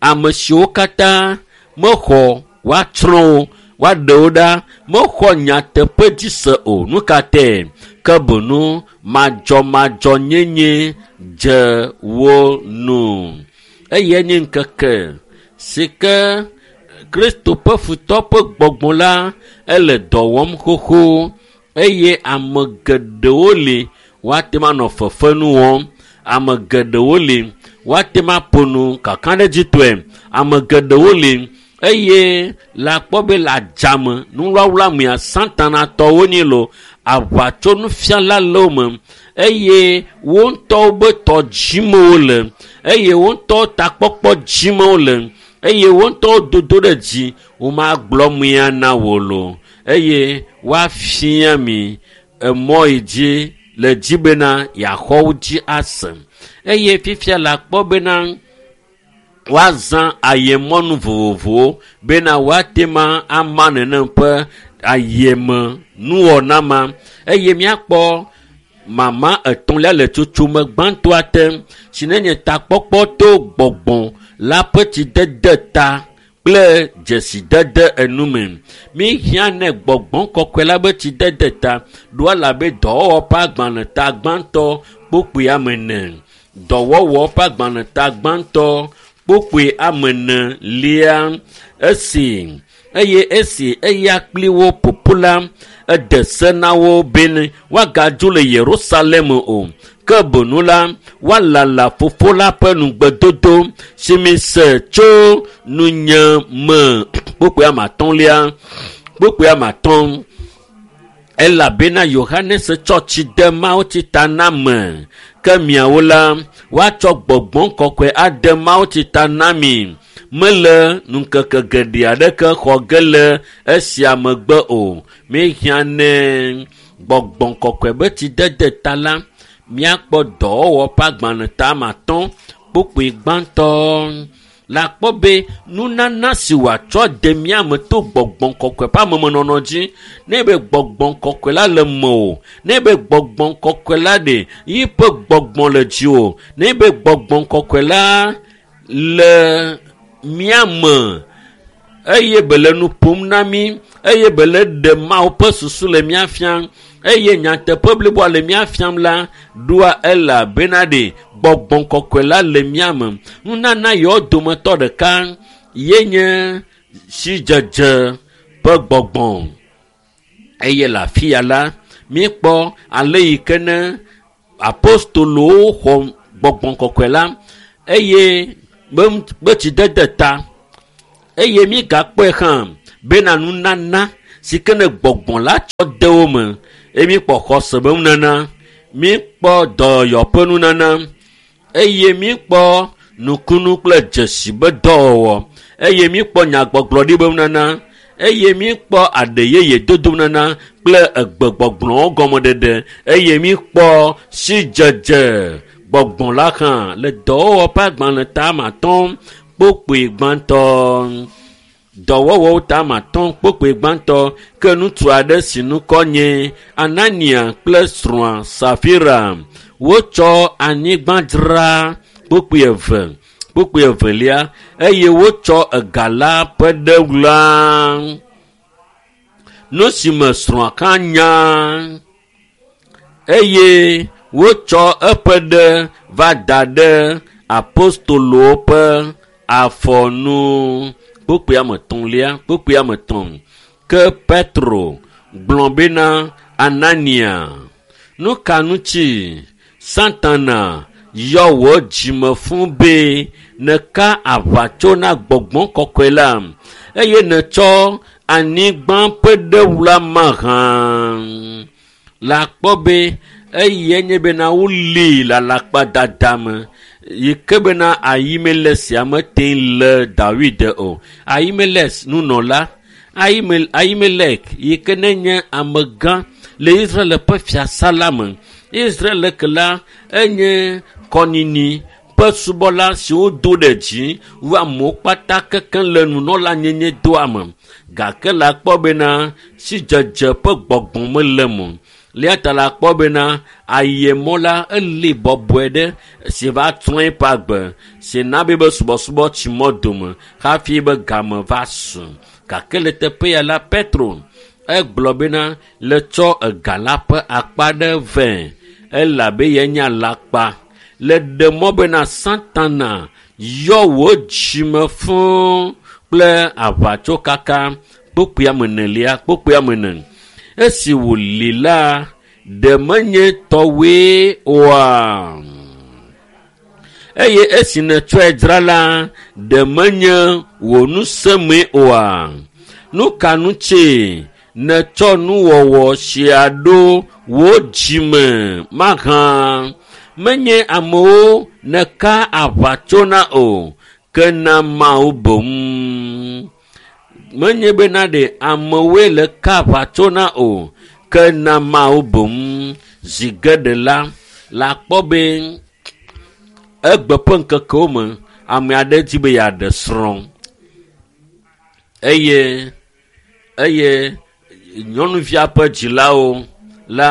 ame siwo katã mexɔ woatsrɔ̃ wo woaɖe wo ɖa mexɔ nyateƒe dzi se o. Nu ka tae? Ke boŋ madzɔmadzɔnyenye dze wo nu. Eyae nye ŋkeke si ke Kristo ƒe futɔ ƒe gbɔgbɔ la ele dɔ wɔm xoxo eye ame geɖewo li woate ŋu anɔ fefenu wɔm. Ame geɖewo li woate ŋu aƒo nu kakaɖedzitɔe. Ame geɖewo li eye le akpɔ be le adzame nuwlawla mea satanatɔwo nyi lo aʋatsonufiala le wo me eye wo ŋutɔwo be tɔ dzime wole eye wo ŋutɔwo takpɔkpɔ dzime wole. Eye wo ŋutɔwo dodo ɖe dzi womagblɔ mia na wò lo eye woafia mi emɔ yi dzi le dzi bena yeaxɔ wo dzi ase. Eye fifia le akpɔ bena woazã ayemɔnu vovovowo bena woate ma ama nenem ƒe ayeme nuwɔna ma eye míakpɔ mama etɔ̃lia le tsotsome gbãtɔa te si ne nye takpɔkpɔ to gbɔgbɔ la ƒe tsidede ta kple dzesidede enume. Míhiã ne gbɔgbɔ kɔkɔe la be tsidede ta ɖo elabe dɔwɔwɔ ƒe agbalẽ ta gbãtɔ kpokpoe ame ene. Dɔwɔwɔ ƒe agbalẽ ta gbãtɔ kpokpoe ame ene lia esi eye esi eya kpli wo ƒoƒu la ede se na wo bene woagadzo le Yerusalem o ke bonu la woalala fofo la ƒe nugbedodo si mi se tso nunye me kpokpoe ame atɔ̃lia kpokpoe ame atɔ̃ elabena Yohanes tsɔ tsi de mawutsi ta na me ke miawo la woatsɔ gbɔgbɔ kɔkɔe ade mawutsi ta na mi mele ŋkeke geɖe aɖeke xɔ ge le esia megbe o míehiã ne gbɔgbɔ kɔkɔe be tsidede ta la míakpɔ dɔwɔwɔ ƒe agbalẽ ta ame atɔ̃ kpokpoe gbãtɔ le akpɔ be nunana si wòatsɔ de mía me to gbɔgbɔ kɔkɔe ƒe amemenɔnɔ dzi ne be gbɔgbɔ kɔkɔe la le mewò ne be gbɔgbɔ kɔkɔe la ɖe yiƒe gbɔgbɔ le dziwò ne be gbɔgbɔ kɔkɔe la le mía me eye be le nu ƒom na mí eye be le ɖe Mawu ƒe susu le mía fiam eye nyateƒe bliboa le mía fiam la ɖoa elabena ɖe gbɔgbɔ kɔkɔe la le mía me. Nunana yewo dometɔ ɖeka ye nye sidzedze ƒe gbɔgbɔ eye le afi ya la míekpɔ ale yi ke ne apostolowo xɔ gbɔgbɔ kɔkɔe la eye be tsidede ta eye míegakpɔe hã bena nunana si ke ne gbɔgbɔ la tsɔ de wo me eye míekpɔ xɔse be nunana míekpɔ dɔyɔyɔ ƒe nunana eye míekpɔ nukunu kple dzesi be dɔwɔwɔ eye míekpɔ nyagbɔgblɔɖi be nunana eye míekpɔ aɖe yeye dodo nunana kple egbegbɔgblɔwo gɔmeɖeɖe eye míekpɔ sidzedze gbɔgbɔ la hã le dɔwɔwɔ ƒe agbalẽ ta ame atɔ̃ kpokpoe gbãtɔ dɔwɔwɔwo ta ame atɔ̃ kpokpoe gbãtɔ ke ŋutsu aɖe si ŋkɔ nye Anania kple srɔ̃a Safira wotsɔ anyigba dzra kpokpoe eve kpokpoe evelia eye wotsɔ ega la ƒe ɖe wla nu si me srɔ̃a hã nya eye wotsɔ eƒe ɖe va da ɖe apostolowo ƒe afɔnu kpokpoe ame etɔ̃lia kpokpoe ame etɔ̃ ke Petro gblɔ bena Anania nu ka ŋuti Satana yɔ wò dzime fũ be nèka aʋatso na gbɔgbɔ kɔkɔe la eye nètsɔ anyigba ƒe ɖe wla mahã le akpɔ be eye nye bena wolée le alakpadada me yi ke bena Ahimelek sia mete le Dawid o. Ahimelek nunɔla Ahimelek yi ke ne nye amegã le Israel ƒe fiasa la me. Israel ke la enye kɔnyinyi ƒe subɔla siwo do ɖe dzi wu amewo kpata kekeŋ le nunɔlanyenye doa me. Gake le akpɔ bena sidzedze ƒe gbɔgbɔ mele eme o. Eya ta le akpɔ bena ayemɔ la eli bɔbɔe ɖe si va trɔ eƒe agbe si na be be subɔsubɔ tsi mɔ dome hafi be game va su. Gake le teƒe ya la Petro egblɔ bena le tsɔ ega la ƒe akpa ɖe vɛ elabe yenye alakpa le ɖe mɔ bena Satana yɔ wò dzime fũu kple aʋatsokaka kpokpoe ame enelia kpokpoe ame ene. Esi wòli la ɖe menye tɔwoe oa? Eye esi nètsɔe dzra la ɖe menye wò ŋusẽmee oa? Nu ka ŋuti nètsɔ nuwɔwɔ sia ɖo wò dzime mahã? Menye amewo nèka aʋatso na o ke na Mawu boŋ. Menye bena ɖe amewoe le ka aʋatso na o, ke na Mawu boŋ. Zi geɖe la, le akpɔ be egbe ƒe ŋkekewo me, ame aɖe di be yeaɖe srɔ̃ eye eye nyɔnuvia ƒe dzilawo la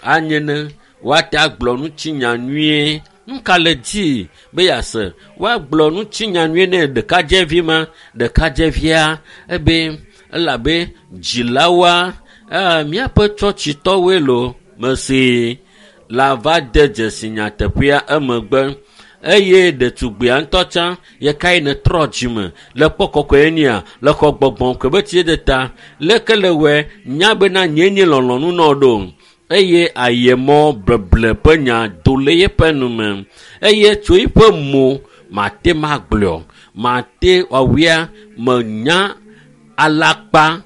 anye ne woate agblɔ ŋutinya nyuie. Nu ka le dzi be yease? Woagblɔ ŋutinya nyuie ne ɖekadzevi ma, ɖekadzevia ebe elabe dzilawoa míaƒe tsɔtsitɔwoe lo mesi la va de dzesi nyateƒea emegbe eye ɖetugbia ŋutɔ tsã yekae netrɔ dzime le kpɔ kɔkɔe nia le xɔ gbɔgbɔ kɔe be tsi ɖe ta leke le wɔe nya bena nye nye lɔlɔ̃nu nɔ ɖo eye ayemɔ bleble ƒe nya do le yeƒe nume eye tso eƒe mo mate magblɔ mate wɔwia menya alakpa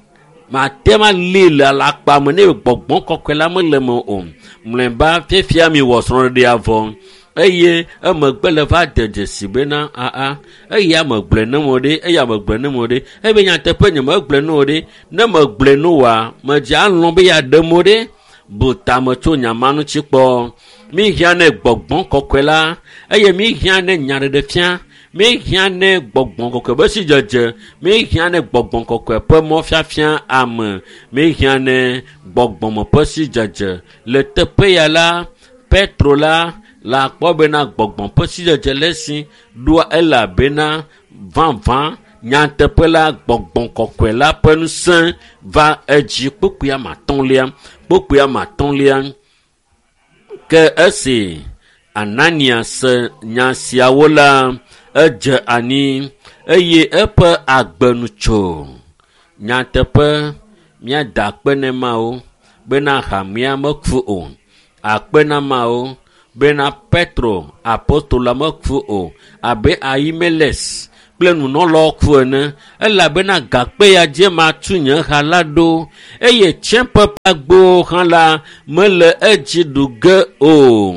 mate ma li le alakpa me ne gbɔgbɔ kɔkɔe la mele me o mlɔeba fiafia mi wɔ srɔ̃ɖeɖea vɔ eye emegbe le va de dzesi bena aa eya megblɔe ne mo ɖe eya megblɔe ne mo ɖe ebe nyateƒe nye megblɔe ne o ɖe ne megblɔe ne oa medze alɔ̃ be yeaɖe mo ɖe bu tame tso nya ma ŋuti kpɔ mihiã ne gbɔgbɔ kɔkɔe la eye mihiã ne nyaɖeɖefia mihiã ne gbɔgbɔ kɔkɔe be sidzedze mihiã ne gbɔgbɔ kɔkɔe ƒe mɔfiafia ame mihiã ne gbɔgbɔme ƒe sidzedze le teƒe ya la Petro la le akpɔ bena gbɔgbɔ ƒe sidzedze le esi ɖoa elabena vavã nyateƒe la gbɔgbɔ kɔkɔe la ƒe ŋusẽ va edzi kpukpui ame atɔ̃lia kpukpui ame atɔ̃lia ke esi Anania se nya siawo la edze ani eye eƒe agbe nu tso. Nyateƒe míada akpe ne Mawu bena hamea meku o. Akpe na Mawu bena Petro apostola meku o abe Ahimeles kple nunɔlawo ku ene elabena gakpe ya dzi matu nye ha la ɖo eye tsiẽƒe ƒe agbowo hã la mele edzi ɖu ge o.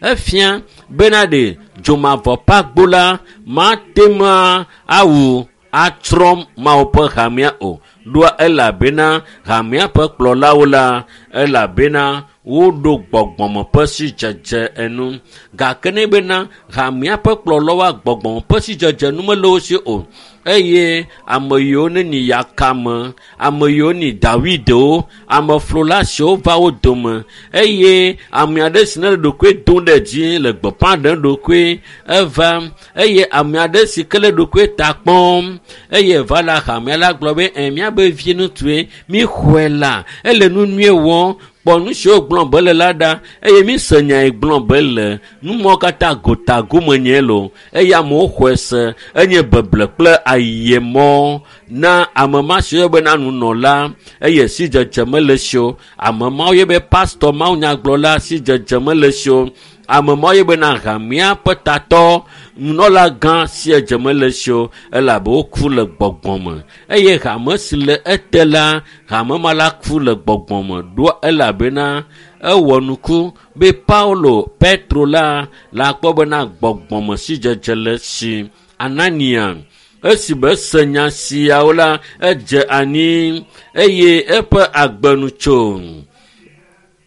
Efia bena ɖe dzomavɔ ƒe agbo la mate ŋu awu atsrɔ̃ Mawu ƒe hamea o ɖoa elabena hamea ƒe kplɔlawo la elabena woɖo gbɔgbɔme ƒe sidzedze enu gake ne bena hamea ƒe kplɔlawoa gbɔgbɔme ƒe sidzedze nu mele wo si o eye ame yiwo ne nyi yakame ame yiwo nyi Davidewo ameflola siwo va wo dome eye ame aɖe si ne le ɖokui dom ɖe dzi le gbeƒã ɖem ɖokui eva eye ame aɖe si ke le ɖokui ta kpɔm eye va la hamea la gblɔ be ɛ míabe vi ŋutsue míxɔe la ele nu nyuie wɔm kpɔ nu siwo gblɔm be le la ɖa eye míse nya yi gblɔm be le numɔwo katã gotagome nye lo eye amewo xɔe se enye beble kple ayemɔ na ame ma si woyɔ bena nunɔla eye sidzedze mele si o ame ma woyɔ be pastɔ mawunyagblɔla sidzedze mele si o ame ma woyɔ bena hamea ƒe tatɔ nunɔla gã sidzedze mele si o elabe woku le gbɔgbɔ me eye hame si le ete la hame ma la ku le gbɔgbɔ me ɖoa elabena ewɔ nuku be Paulo Petro la le akpɔ bena gbɔgbɔme sidzedze le si Anania esi be ese nya siawo la edze ani eye eƒe agbe nu tso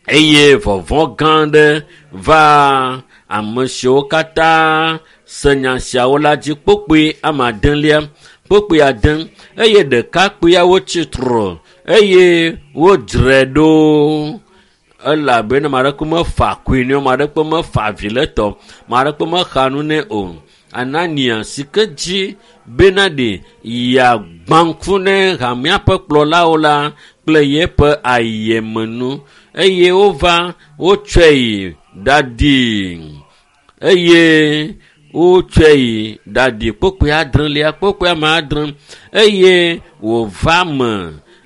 eye vɔvɔ̃ gã aɖe va ame siwo katã se nya siawo la dzi kpokpoe ame adelia kpokpoe ade eye ɖekakpuiawo tsi tre eye wodzrae ɖo elabena ame aɖeke mefa akui nɛ o ame aɖeke mefa avi le etɔ ame aɖeke mexa nu nɛ o. Anania si ke dzi bena ɖe yeagbã ŋku ne hamea ƒe kplɔlawo la kple yeƒe ayemenu eye wova wotsɔe yi ɖaɖi eye wotsɔe yi ɖaɖi kpokpoe adrelia kpokpoe ame adre eye wòva me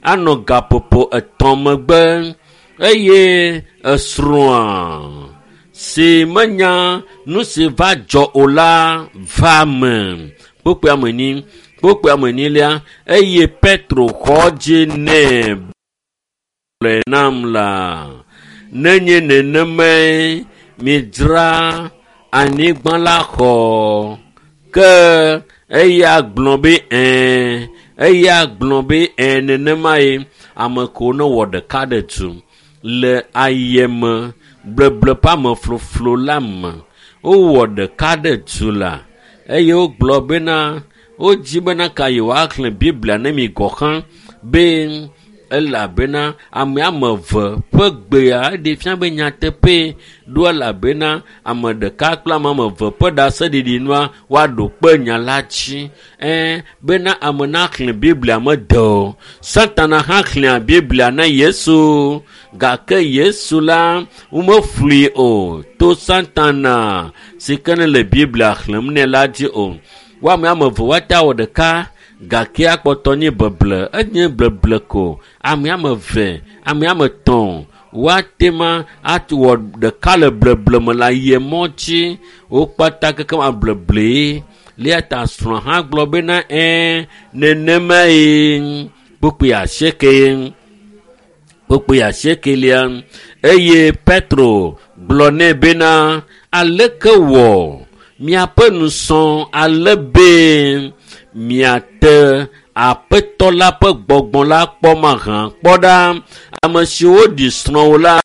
anɔ gaƒoƒo etɔ̃ megbe eye esrɔ̃a si menya nu si va dzɔ o la va me kpokpoe ame enyi kpokpoe ame enyilia eye Petro xɔ dzi nɛ gblɔe nam la nenye nenemae midzra anyigba la xɔ ke Eya gblɔ be ɛɛ, eya gblɔ be ɛɛ nenema ye. Ame kewo ne wɔ ɖeka ɖe tu le ayeme bleble ƒe amefloflo la me. Wowɔ ɖeka ɖe tu la eye wogblɔ bena wodzi bena ka yewoaxlẽ Biblia ne mi gɔ hã be elabena ame ame eve ƒe gbea eɖe fia be nyateƒe ɖo elabena ame ɖeka kple ame ame eve ƒe ɖaseɖiɖi nua woaɖo kpe nya la dzi. Ɛɛ bena ame naxlẽ Biblia mede o. Satana hã xlẽa Biblia na Yesu gake Yesu la womeflui o to Satana si ke ne le Biblia xlẽm nɛ la dzi o. Woame ame eve woate awɔ ɖeka gake akpɔtɔ nye beble enye bleble ko. Ame ame eve, ame ame etɔ̃ woate ma awɔ ɖeka le bleble me le ayemɔ dzi. Wo kpata kekem ableblee. Lia ta srɔ̃ hã gblɔ bena ɛɛ nenemae kpukpui asieke kpukpui asiekelia eye Petro gblɔ nɛ bena aleke wɔ miaƒe nusɔ ale be miate aƒetɔ la ƒe gbɔgbɔ la kpɔ mahã kpɔ ɖa ame siwo ɖi srɔ̃wo la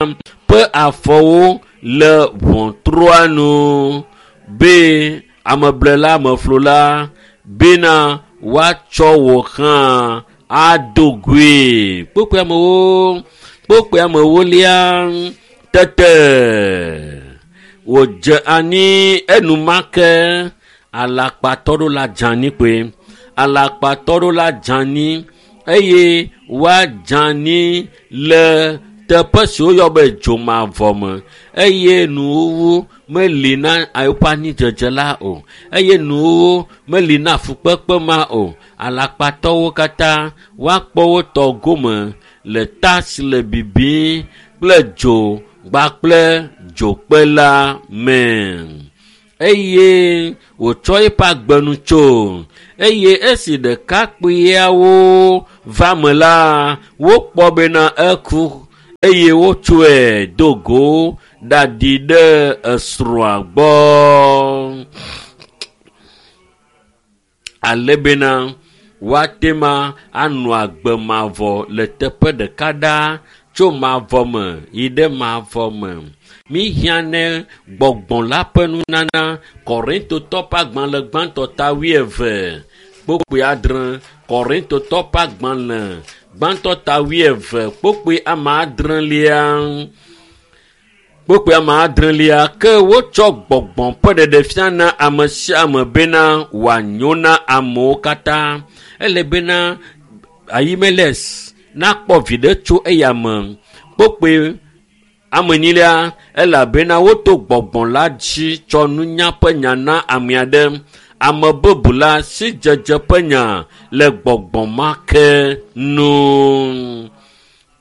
ƒe afɔwo le ʋɔtrua nu be ameblela ameflola bena woatsɔ wò hã ado goe. Kpukpui amewo kpukpui amewolia tete wòdze anyi enumake alakpatɔ ɖo la dze anyi kpoe. Alakpatɔ ɖo la dze anyi eye woadze anyi le teƒe si woyɔ be dzomavɔ me eye nuwuwu meli na eƒe anyidzedze la o eye nuwuwu meli na fukpekpe ma o. Alakpatɔwo katã woakpɔ wo tɔ gome le ta si le bibim kple dzo kpakple dzokpe la me. Eye wòtsɔ eƒe agbenu tso eye esi ɖekakpuiawo va me la wokpɔ bena eku eye wotsɔe do go ɖaɖi ɖe esrɔ̃a gbɔ. Ale bena woate ma anɔ agbe mavɔ le teƒe ɖeka ɖaa tso mavɔ me yi ɖe mavɔ me. Míhiã ne gbɔgbɔ la ƒe nunana Korintotɔ ƒe agbalẽ gbãtɔ ta wuieve kpukpui adre Korintotɔ ƒe agbalẽ gbãtɔ ta wuieve kpukpui ame adrelia kpukpui ame adrelia ke wotsɔ gbɔgbɔ ƒe ɖeɖefia na ame sia ame bena wòanyo na amewo katã. Ele bena Ahimelek nakpɔ viɖe tso eya me. Kpukpui ame enyilia elabena woto gbɔgbɔ la dzi tsɔ nunya ƒe nya na ame aɖe. Ame bubu la sidzedze ƒe nya le gbɔgbɔ ma ke nu.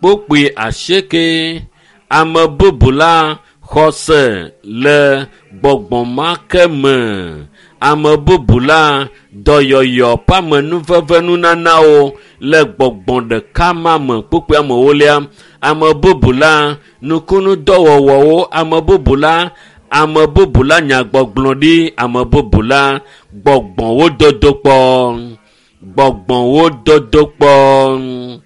Kpukpui asieke ame bubu la xɔse le gbɔgbɔ ma ke me. Ame bubu la dɔyɔyɔ ƒe amenuveve nunanawo le gbɔgbɔ ɖeka ma me. Kpukpui amewolia ame bubu la nukunudɔwɔwɔwo ame bubu la ame bubu la nyagbɔgblɔ ɖi ame bubu la gbɔgbɔwo dodo kpɔ gbɔgbɔwo dodo kpɔ.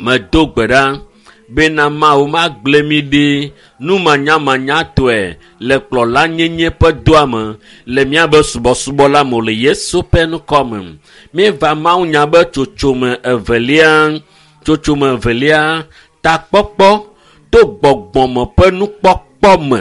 Medo gbe ɖa bena Mawu magblẽ mi ɖi numanyamanyatɔe le kplɔlanyenye ƒe doa me le míabe subɔsubɔ la me le Yesu ƒe ŋkɔ me. Míeva Mawunya be tsotsome evelia tsotsome evelia takpɔkpɔ to gbɔgbɔme ƒe nukpɔkpɔ me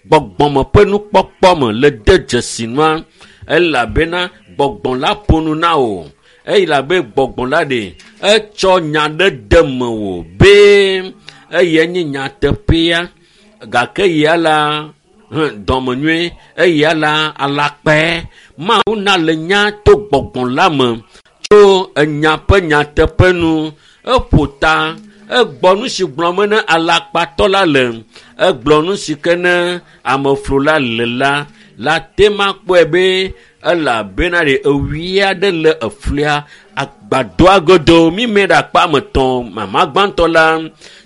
gbɔgbɔme ƒe nukpɔkpɔ me le de dzesi nua elabena gbɔgbɔ la ƒo nu na wò elabe gbɔgbɔ la ɖe etsɔ nya ɖe de mewò be eyae nye nyateƒea gake ya la dɔmenyui eya la alakpae. Mawu na le nya to gbɔgbɔ la me tso enya ƒe nyateƒe nu. Eƒo ta egbɔ nu si gblɔm ne alakpatɔ la le egblɔ nu si ke ne ameflola le la la te ma kpɔe be elabena ɖe ewui aɖe le eflia agbadɔa godo mímɛ ɖe akpa ame etɔ̃ mama gbãtɔ la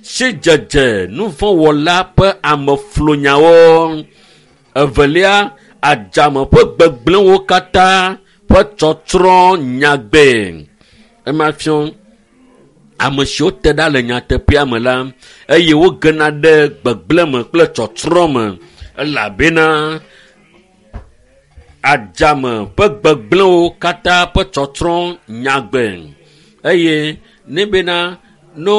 sidzedze nuvɔ̃wɔla ƒe ameflonyawo evelia adzame ƒe gbegblẽwo katã ƒe tsɔtsrɔ̃ nyagbe. Ema fiɔ ame siwo te ɖa le nyateƒea me la eye wogena ɖe gbegblẽ me kple tsɔtsrɔ̃ me elabena adzame ƒe gbegblẽwo katã ƒe tsɔtsrɔ̃ nyagbe eye ne bena no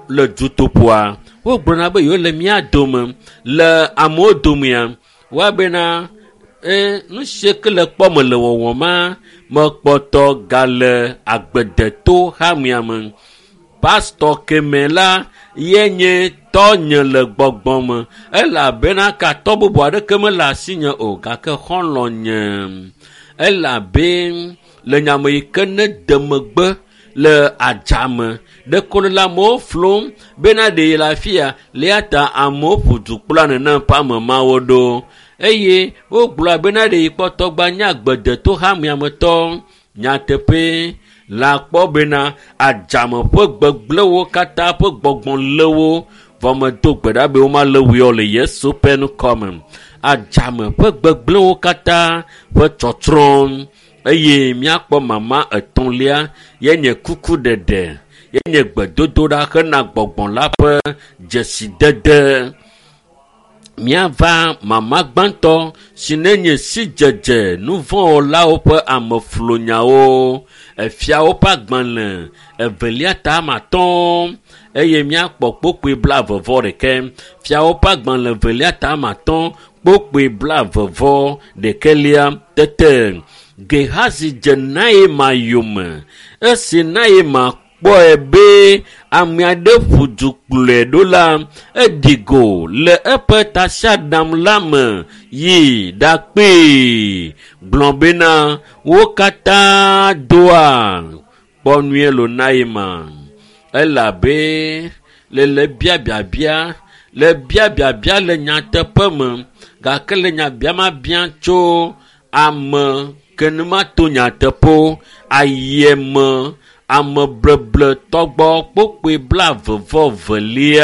le dutoƒoa wogblɔna be yewo le mía dome le amewo domea woabena e nu sie ke le kpɔ me le wɔwɔma mekpɔtɔ gale agbedeto hamea me. Pastɔ keme la ye nye tɔnye le gbɔgbɔ me elabena katɔ bubu aɖeke mele asinye o gake xɔlɔ̃ nye elabe le nyame yi ke ne de megbe le adzame ɖeko le amewo flom bena ɖe yi le afi ya le ya ta amewo ƒo du kpla nenem ƒe ame mawo ɖo eye wogblɔ bena ɖe yi kpɔtɔ gba nye agbedeto hamea me tɔ nyateƒe la kpɔ bena adzame ƒe gbegblẽwo katã ƒe gbɔgbɔ lé wo vɔ medo gbe ɖa be womalé wui o le Yesu ƒe ŋkɔme. Adzame ƒe gbegblẽwo katã ƒe tsɔtsrɔ̃ eye míakpɔ mama etɔ̃lia ye nye kukuɖeɖe ye nye gbedodoɖa hena gbɔgbɔ la ƒe dzesidede. Míava mama gbãtɔ si ne nye sidzedze nuvɔ̃wɔlawo ƒe ameflonyawo efiawo ƒe agbalẽ evelia ta ame atɔ̃ eye míakpɔ kpokpoe blaeve vɔ ɖekɛ. Fiawo ƒe agbalẽ evelia ta ame atɔ̃ kpokpoe blaeve vɔ ɖekɛlia tete Gehazi dze Naema yome. Esi Naema kpɔe be ame aɖe ƒu du kplɔe ɖo la, eɖi go le eƒe tasiaɖam la me yi ɖakpee gblɔ bena wo katã doa kpɔ nyuie lo Naema elabe le le biabiabia le biabiabia le nyateƒe me gake le nyabiama bia tso ame ke ne mato nyateƒe ayeme ame bleble tɔgbɔ kpokpoe blaeve vɔ velia.